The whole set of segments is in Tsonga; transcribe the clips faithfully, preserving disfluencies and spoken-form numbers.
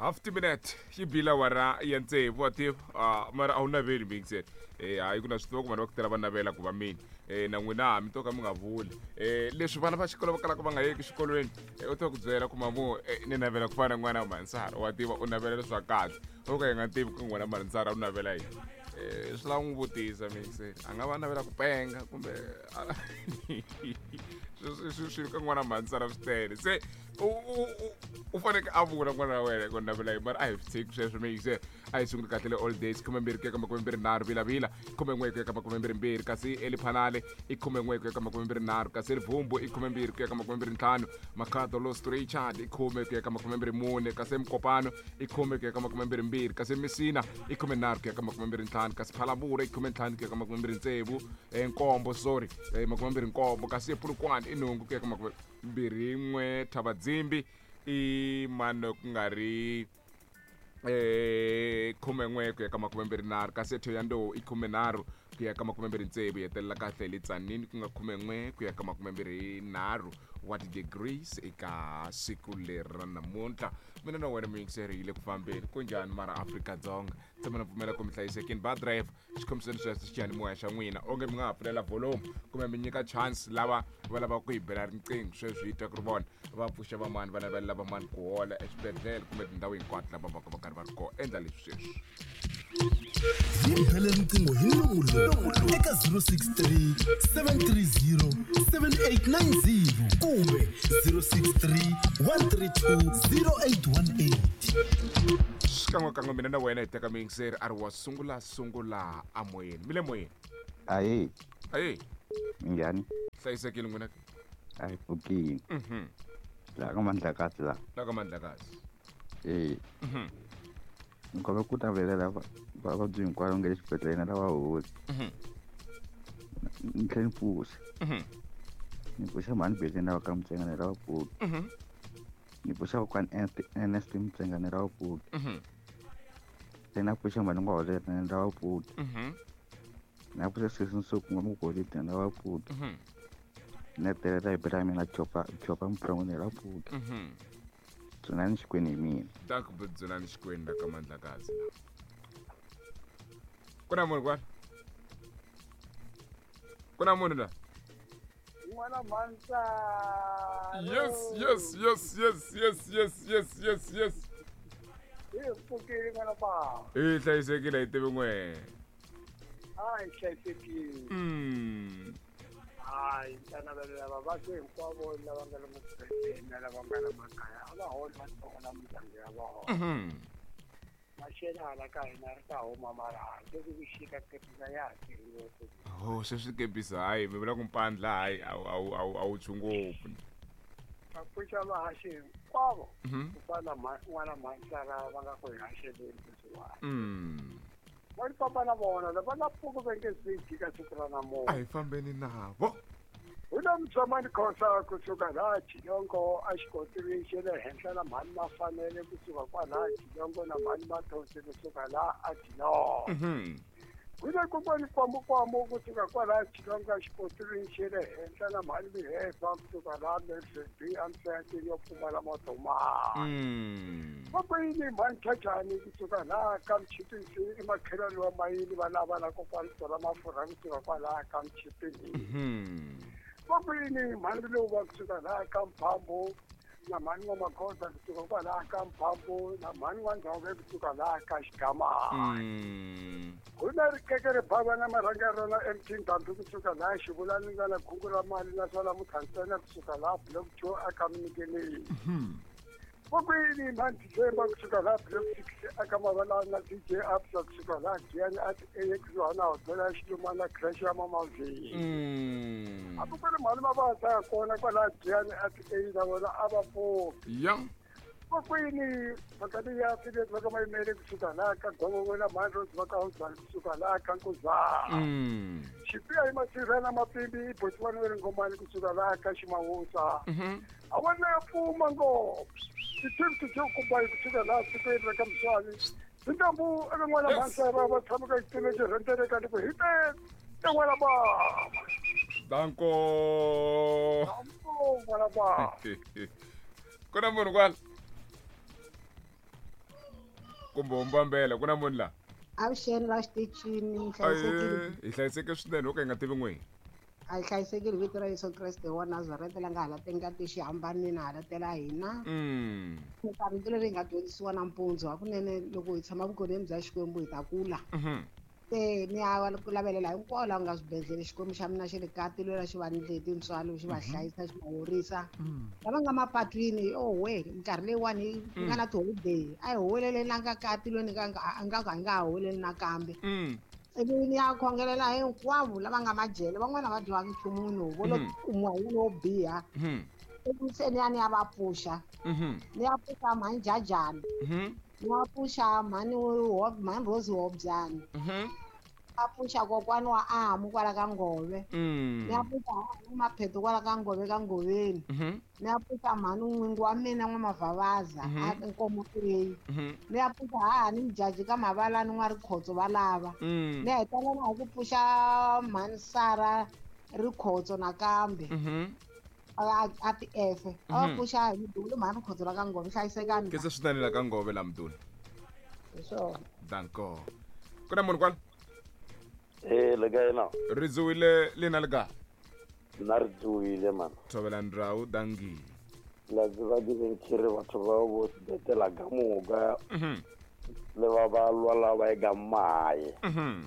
Half minute yi bila wara ya tsevu wa tiva ah, mara a wu naveli mixer eh hayi ku na swi tiva ku vanhu va ku tala va navela ku va mina eh na n'wina mi to ka mi nga vuli eh leswi vana va xikolo va kalaka va nga yeki xikolweni eh, u to ku byela ku mamu eh, ni navela ku fana na n'wana wa Mansara wa tiva u navela leswa kahle o ka yi nga tivi ku n'wana Mansara u navela yini eh swi lava n'wi vutisa mixer a nga va navela ku penga kumbe swi swi swi ka n'wana Mansara swi tele se u u- u- u faneke a vula n'wana wa wena ku navela yini mara a hi swi tshiki sweswo mixer a hi sunguli kahle le all days khume mbirhi ku ya ka makume mbirhi nharhu vilavila khume n'we ku ya ka makume mbirhi mbirhi kasi eliphanale i khume n'we ku ya ka makume mbirhi nharhu kasi elivhumbu i khume mbirhi ku ya ka makume mbirhi ntlhanu makhado los richard i khume ku ya ka makume mbirhi mune kasi emukopano i khume ku ya ka makume mbirhi mbirhi kasi emisina i khume nharhu ku ya ka makume mbirhi ntlhanu kasi phalavura i khume ntlhanu ku ya ka makume mbirhi tsevu eh, nkombo sorry eh, makume mbirhi nkombo kasi epulukwane i nhungu ku ya ka makume mbirhi n'we thavadzimbi i mano ku nga ri eh khume n'we ku ya ka makume mbirhi nharhu kasi ethoyandou i khume nharhu ku ya ka makume mbirhi tsevu hi hetelela kahle hi le tsanini ku nga khume n'we ku ya ka makume mbirhi nharhu wa ti-degrees eka siku leri ra namuntlha mina na wena muyingiseri hi le ku fambeni ku njhani mara Afrika-Dzonga tshama na pfumela ku mi hlayisekini ba driver xikhomiseni sweswo xiyanimoya xa n'wina onge mi nga ha pfulela volume kumbe mi nyika chance lava va lavaka ku hi bela riqingho sweswi hi twa ku ri vona va pfuxa vamani va navelela vamani ku hola eswibedhlele kumbe tindhawu hinkwato lava vaka va karhi va ri kona endla leswi sweswi Hi bele riqingho hi nomu eka zero six three seven three zero seven eight nine zero kumbe zero six three one three two zero eight one eight. Xikan'wekan'we mina na wena hi teka muyingiseri a ri wa sungula sungula amoyeni mi le moyeni. Ahe. Ayi. Minjhani? Hlayisekile n'wina? A hi pfukini. Mhm. Laha ka Mandlakazi la. La ka Mandlakazi. E. Mhm. Ni kombela ku navelela va- vavabyi hinkwavo nga le xibedhlele na lava holi. Mhm. Ni tlhela ni pfuxa. Mhm. Ni pfuxa mhani Beleni lava ka Mtsengane lava pfuki. Mhm. Ni pfuxa kokwani Ernest Mtsengane lava pfuki. Mhm. Tlhela na pfuxa mhani Ngwaholera na lava pfuki. Mhm. Na pfuxa sesi Nsuku n'wamugolidi na lava pfuki. Mhm. Ni hetelela hi bela mina Chopa Chopa Mupfurangweni lava pfuki. Mhm. Dzunani Xikwenu hi mina. Ta ku dzunani Xikwenu la ka Mandlakazi la ku na munhu kwala ku na munhu la. N'wana Mhansa. Yes yes yes yes yes yes yes yes yes. Hi pfukile n'wana ba. Hi hlayisekile hi tivi n'we. A hi hlayisekile. Mm. Hayi ta navelela vavabyi hinkwavo lava nga le mubedweni na lava nga le makaya a va holi va tsongo na mindyangu ya vona. Mhm. Maxelo hala ka hina ri ta huma mara sweswi ku xika kepisa ya ha tirhi ngopfu. Oh, sweswi kepisa hayi mi vula ku mpandla hayi a wu- a wu- a wu- a wu tshwi ngopfu. Va pfuxa vahaxi hinkwavo Mhm. ku fana na mha- n'wana Mhansara va nga ku hi haxeleni sweswiwani. Mm. Va ni famba na vona lava nga pfuki va nge swi jika siku ra A namuntlha. hi fambeni navo. Hu na Mutshamani Khosa kusuka laha Chilongo a xikontiri xa le henhla na mhani Mafanele kusuka kwalaha Chilongo na mhani Mathonsi kusuka laha a Chilongo. Mhm. Hu na kokwani Kwamukwamu kusuka kwalaha Chilongo a xikontiri xa le henhla na mhani Mihefa kusuka laha Melford amsayantini yo pfumala matomani. Mm. Vakwini mhani Chachani kusuka laha ka Mchipisi i makhelwani wa mayini va lava na kokwani Tola Mafurha kusuka kwalaha ka Mchipisi. Mhm. Vakwini mhani lowu va kusuka laha ka Mphambo na mhani wa Makhosa kusuka kwalaha ka Mphambo na mhani wa Ndzhove kusuka laha ka Xigamani. Mm. Ku na rikeke ri bava na marhanga rona M T Ndhambi kusuka laha Xivulani nga na khungu ra mali naswona Muthantsena kusuka laha block two aka Minikeleni. Mhm. Vakwini mhani December kusuka laha block six aka Mavalani na D J Absa kusuka laha Giyani a ti A kusuhana hodela ya Xilumana crash ya Mamavhini. Mm. Hambi ku ri mhani Mavasa ya kona kwalaha Giyani a ti A na vona a va pfuki. Ya. Vakwini mhaka leyi ya Philip va ka Mayimele kusuka laha ka Govongo na mhani Rose va ka Hozani kusuka laha ka Nkuzana. Mm. Xipiya hi Masirha na Mapimbi i Botswana wa ri Ngomani kusuka laha ka Ximawusa. Mhm. A vona ya pfuma ngopfu ti-fifty to kumbayi kusuka laha tikweni ra ka Muswani tintambu eka n'wana Yes. Mhansara va tshama ka xitulu xi rhendzeleka ni ku hi te te n'wana bava. Danko. Ambo n'wana bava. Ku na munhu kwala. Kumbe mbambela ku na munhu la. Avuxeni la xitichini mi hlayisekile. Hi hlayiseke swinene ho ka hi nga tivi n'wini. A hi hlayisekile vito ra Yesu Kreste wa Nazareta la nga hala ngati xihambanini hala tela hina. Mm. Rito leri hi nga dyondzisiwa nampundzu hakunene loko hi tshama vukoneni bya Xikwembu hi ta kula. Mhm. Se ni ya ku lavelela hinkwavo lava nga swibedhlele Xikwembu xa mina xi le ka tilwela xi va ndle tintswalo xi va hlayisa xi va horisa. Lava nga mapatwini owe minkarhi leyiwani yi nga na tiholideyi a hi huweleleni a nga ka tilweni ka a nga ka hi nga ha huweleli nakambe. Mm. Ivi ni ya khongelela hinkwavo lava nga majele van'wana va dyiwanga nchumu no vo lo kumiwa hi lowo biha. Mhm. Ivi se ni ya ni ya va pfuxa. Mhm. Ni ya pfuxa mhani Jajani. Mhm. Ni ya pfuxa mhani mhani Rose Hobyani. Mhm. A pfuxa kokwani wa Amu kwala ka Ngove. Mm. Ni ya pfuxa Mapheto kwala ka Ngove ka Ngoveni. Mhm. Ni ya pfuxa mhani n'wingi wa mina N'wamavhavaza a Nkomo A. Mhm. Ni ya pfuxa hahani Mjaji ka Mavalani n'wa Rikhotso va lava. Mm. Ni hetelela hi ku pfuxa mhani Sara Rikhotso nakambe. Mhm. A a ti F. A va pfuxa hi Mduli mhani Rikhotso la ka Ngove hlayisekani. Ke se swinene la ka Ngove la Mduli. Hi swona. Danko. Ku na munhu kwala? Eh le kae na? Ri dzuwile lina le kae? Nna re dzuwile man. Thobela ndhawu dangi. La tseba ke beng ke re batho ba bo sebetela ka moka. Mhm. Le ba ba lwala ba e ka maye. Mhm.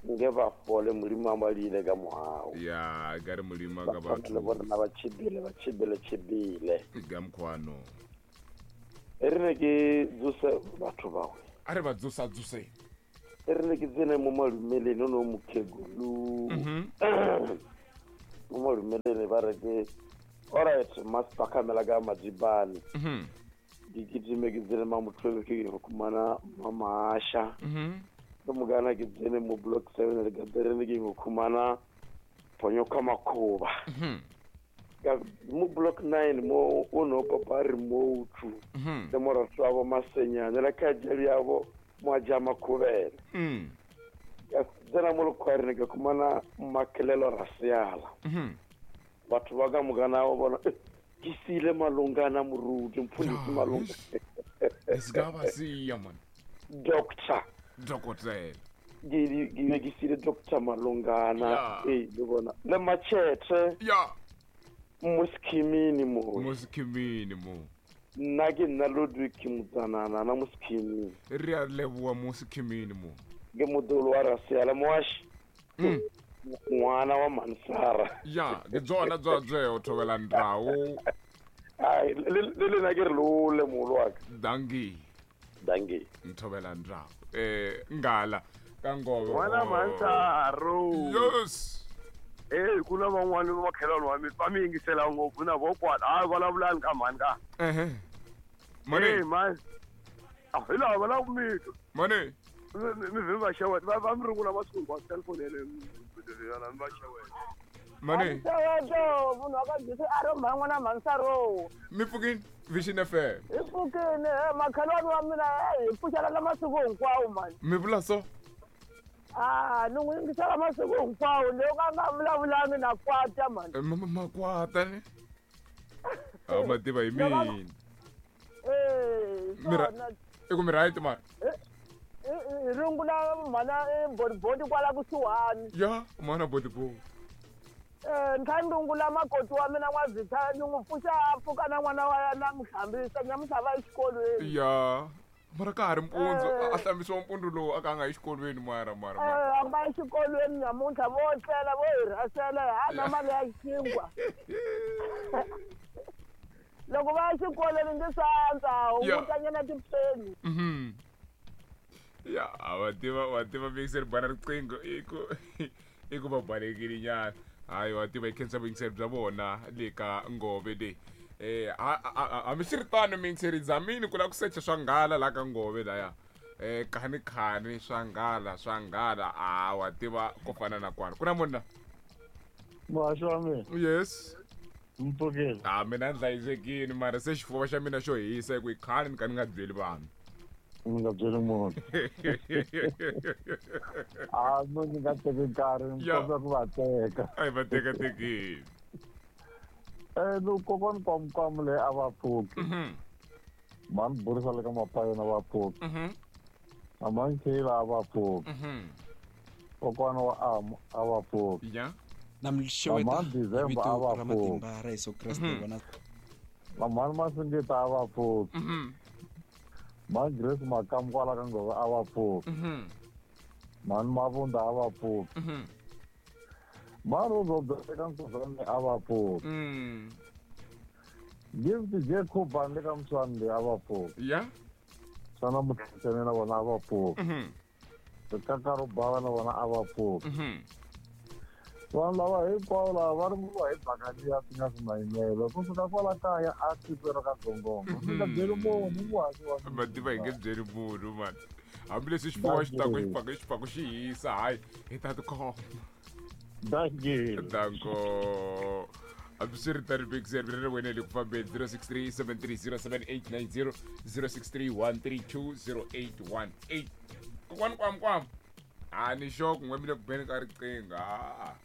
Nke ba fole Modimo a ba diile ka mohau. Ya, ka re Modimo a ka batho. Le bona ba tshibile ba tshibile tshibile. Ka mkhwano. E re ne ke dzuse batho ba we. A re ba dzusa dzuse. E re ne ke tsene mo malumeleni no mokhegulu. Mhm. Mo malumeleni ba re ke alright master khamela ka Madzibane. Mhm. Ke gidime ke tsene ma motho ke go khumana Mamasha. Mhm. Ke mogana ke tsene mo block seven le ka tere ke go khumana Ponyoka Makhoba. Mhm. Ka mo block nine mo o no papa remote. Mhm. Le moratso wa bo Masenyane le ka jeli ya bo Mwaja Makhubele. Mm. Ka tsena mo lekhwareng ke khumana Makelelo Rasiala. Mhm. Batho ba ka mogana wa bona ke sile malongana moruti mfundisi Malonga. Esigaba siya man. Doctor. Dokotela. Ke ke ke sile Doctor Malongana eh le bona le Machete. Ya. Mo skimini mo. Mo skimini mo. Nna ke nna Ludwig Mutsanana na mo skimini. Re a leboha mo skimini mo. Ke modolo wa Rasiala moashi. Mm. Ngwana wa Mansara. Ya, ke tsona tswa tseo thobela ndhawu. Ai le le na ke re lo le molo wa ka. Dangi. Dangi. Nthobela ndhawu. Eh ngala ka Ngove. Ngwana Mansaro. Yes. Eh kuna van'wana va makhelwani wa mina va mi yingisela ngopfu na vo kwala a vulavulani ka mhani ka. Ehe. Mani. Eh man. Ah hi lava va lava ku mi twa. Mani. Mi vi va xeweta va va mi rungula masiku hinkwawo cellphone yeleyo mi va xeweta. Mani. Xeweto munhu wa ka Jisi a ro mhani n'wana Mansaro. Mi pfukini Vision F M. Hi pfukini makhelwani wa mina hi pfuxelana masiku hinkwawo mani. Mi vula so? Ah, ni n'wi yingisela masiku hinkwawo loko a nga vulavulani na kwata mani. Makwata ne? A ma tiva hi mina. Eh, Mira i ku mi right mani? Hi rungula mhana bodibodi kwala kusuhani. Ya, mhana bodibodi. Eh, ni kha ni rungula makoti wa mina N'wavhitha ni n'wi pfuxa a pfuka na n'wana wa yena n'wi hlambisa ni ya n'wi hlava exikolweni. Ya. Mara ka ha ri mpundzu a hlambisiwa mpundzu lowu a ka a nga yi xikolweni mara mara. Eh, a nga yi xikolweni namuntlha vo tlela vo hi rhasela hi hana mali ya xinkwa. Loko va ya xikolweni ndzi sandza hungutanyana tipeni. Mhm. Ya, wa tiva wa tiva mixer bana riqingho i ku i ku va balekile nyana. Hayi wa tiva hi khensa vuyingiseri bya vona le ka Ngove leyi. Eh hambiswiritano miyingiseri zamini ku lava ku secha swa nghala la ka Ngove laya. Eh khani khani swa nghala swa nghala a wa tiva ku fana na kwala. Ku na munhu la? Muhaxi wa mina. Yes. Mpfukile. Ah mina ni hlayisekile mara se xifuva xa mina xo hisa hi ku i khale ni ka ni nga byeli vanhu. Ni nga byeli munhu. Ah no ni nga teki nkarhi ni kombela ku va teka. A hi va tekatekile. Eh loko kokwani Kwamukwamu leyi a va pfuki. Mhm. Mhani burisa le ka mapayona va pfuki. Mhm. Na mhani Kayla a va pfuki. Mhm. Kokwana wa Amu a va pfuki. Ya. Na mi xeweta Mhani hi December vito a va ra pfuki. matimba ra Yesu Kreste Mhm. vona Na mhani Masingita a va pfuki. Mhm. Mhani Grace Makamu kwala ka Ngove a va pfuki. Mhm. Mhani Mavunda a va pfuki. Mhm. Mhani Rozo eka Nkuzane a va pfuki. Mm. Gift J Khuba le ka Mswani a va pfuki. Ya. Xana Mutlhetsene na vona a va pfuki. Mhm. Rikaka ro bava na vona a va pfuki. Mhm. Vanhu lava hinkwavo lava va ringiwa hi bakaniya swi nga swi mayimelo kusuka kwala kaya a tikweni ka Gongongo. Mi nga byeli munhu muhaxi wa mina. Mativa hi nge byeli munhu mani. Hambileswi xifuwo xi taku xi pfaka xi pfaka xi hisa hayi hi ta tikhoma. Dankie. Danko. Hambiswiritano Big Zero ri wena le ku fambeni zero six three seven three zero seven eight nine zero zero six three one three two zero eight one eight. Kokwani kwam kwam. A ni sure ku n'we mi le ku beni ka riqingho. Ah,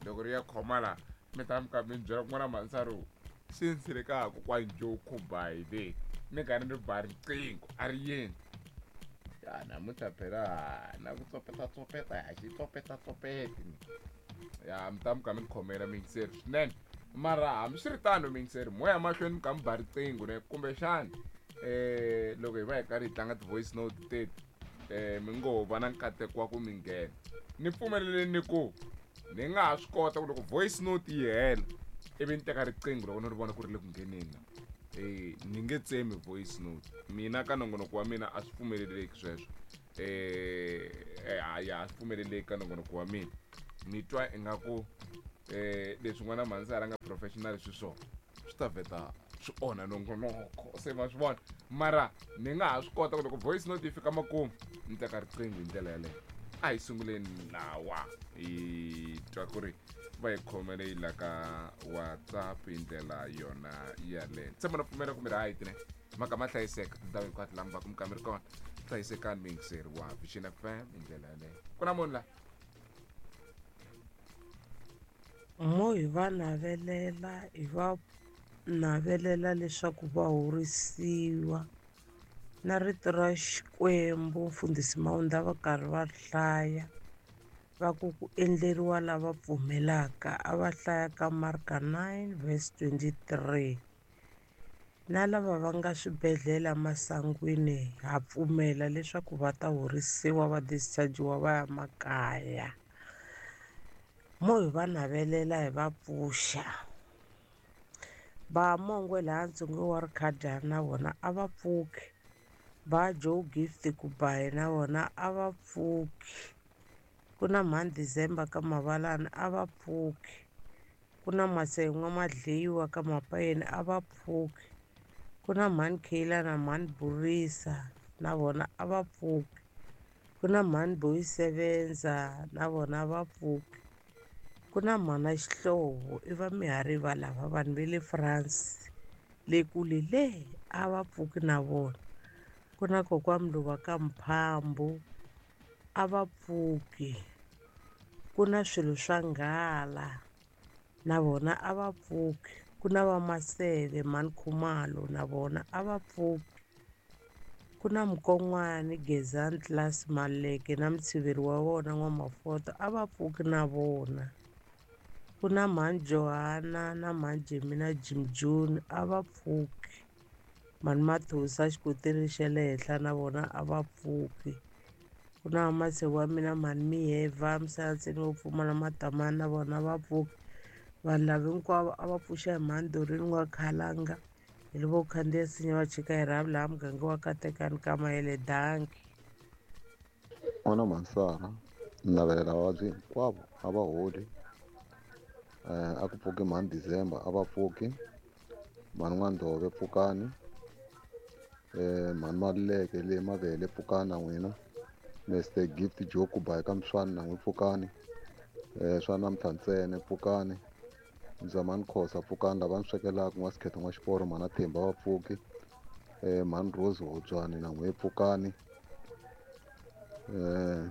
loko ri ya khoma la mi ta mi ka mi byela kun'wana mhansaro since le ka kokwani Joe Khubai le mi karhi ni ba riqingho a ri yeni. Ya namuntlha phela na ku tsopeta-tsopeta ha xi tsopeta-tsopeti. Ya mi ta mi ka mi ni khomela miyingiseri swinene. Mara hambiswiritano miyingiseri moya mahlweni mi ka mi ba riqingho ne kumbexana eh loko hi va hi karhi hi tlanga ti-voice note teti eh mi ngo va na nkateko wa ku mi nghena. Ni pfumeleleni ni ku ni nga ha swi kota ku loko voice note yi hela ivi ni teka riqingho loko ni ri vona ku ri le ku ngheneni na. Eh ni nge tsemi voice note. Mina ka nongonoko wa mina a swi pfumeleleki sweswo. Eh hayi a swi pfumeleleki ka nongonoko wa mina. Ni twa ingaku eh leswi n'wana mhansara nga professional swi swona swi ta vheta swi onha nongonoko se ma swi vona. Mara ni nga ha swi kota ku loko voice note yi fika makumu ni teka riqingho hi ndlela yaleyo. A hi sunguleni lawa hi twa ku ri va hi khomele yi la ka WhatsApp hi ndlela yona yaleyo. Tshemba na pfumela ku mi right ne mhaka ma hlayiseka tindhawu hinkwato laha mi va ku mi ka mi ri kona hlayisekani miyingiseri wa Vision F M hi ndlela yaleyo. Ku na munhu la Mo hi va navelela hi va navelela leswaku va horisiwa na rito ra Xikwembu mfundhisi Mawunda va karhi va hlaya va ku ku endleriwa lava pfumelaka a va hlaya ka Marka nine verse twenty-three na lava va nga swibedhlele masangwini ha pfumela leswaku va ta horisiwa va dischargiwa va ya makaya. Mo hi va navelela hi va pfuxa. Va Mongwe laha ntsongo wa Rikhadya na vona a va pfuki. Va Joe Gift Kubayi na vona a va pfuki. Ku na mhani December ka Mavalani a va pfuki. Ku na Masen'wa Madleyiwa ka Mapayeni a va pfuki. Ku na mhani Kayla na mhani Burisa na vona a va pfuki. Ku na mhani Boy Sevenza na vona a va pfuki. Ku na mhana Xihlovo i va Mihariva lava vanhu va le France le kule le a va pfuki na vona. Ku na kokwani Mluva ka Mphambu a va pfuki. Ku na swilo swa nghala na vona a va pfuki. Ku na va Maseve mhani Khumalo na vona a va pfuki. Ku na Mukon'wani Gezani Class Maleke na mutshiveri wa vona N'wamafoto a va pfuki na vona. Ku na mhani Johanna na mhani Jemina Jim June a va pfuki. Mhani Mathosa xikoteri xa le henhla na vona a va pfuki. Ku na vamaseve wa mina mhani Miheva Misanseni wo pfumala matamani na vona va pfuki. Vanhu lava hinkwavo a va pfuxa hi mhani Doreen wa Khalanga hi le vo khandziya nsinya va chika hi rhavi laha muganga wa Katekani ka Mayele danki. N'wana Mhansara ni navelela vavabyi hinkwavo a va holi. Eh a ku pfuki mhani December a va pfuki. Mhani N'wandhove pfukani. Eh mhani Maluleke le Mavele pfukani na n'wina. Mister Gift Joe Kubayi ka Mswani na n'wi pfukani. Eh swa namuntlha ntsena pfukani. Mzamani Khosa pfukani lava ni swekelaka n'wa Sikhetho n'wa Xiporo mhana Themba va pfuki. Eh mhani Rose Hobyani na n'wi pfukani. Eh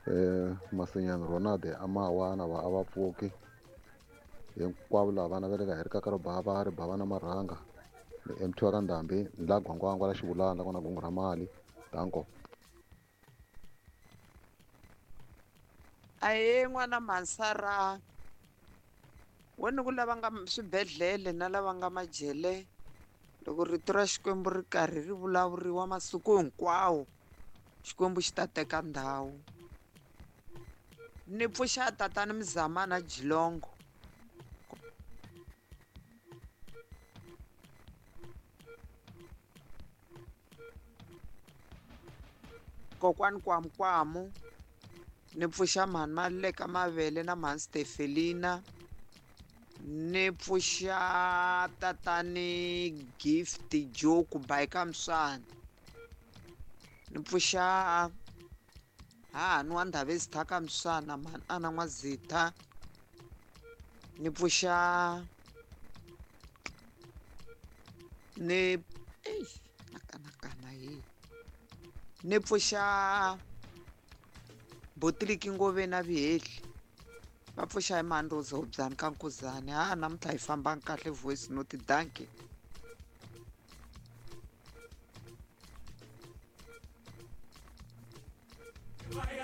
eh Masinyana Ronald Amawa na va a va pfuki. Hinkwavo lava va naveleka hi rikaka ro bava ri bava na marhanga. Ni M T wa ka Ndhambi ni la Gwangwangwa la Xivulana la ku na gungu ra mali. Danko. Ahee n'wana Mansara, wena ku lava nga swibedhlele na lava nga majele, loko rito ra Xikwembu ri karhi ri vulavuriwa masiku hinkwawo, Xikwembu xi ta teka ndhawu. Ni pfuxa tatana Mzamana Jilongo. Kokwani Kwamukwamu, ni pfuxa mhani Maluleka Mavele na mhani Stefelina, ni pfuxa tatani Gift Joe ku bayika Mswana, ni pfuxa hahani wa Ndhavezitha ka Mswana mhani Ana N'wazitha, ni pfuxa ni eish na kanakana hi ni pfuxa Botiliki Ngove na Vihehli, va pfuxa hi mhani Rose Hobyani ka Nkuzani. Ha namuntlha hi fambanga kahle voice note, dankie.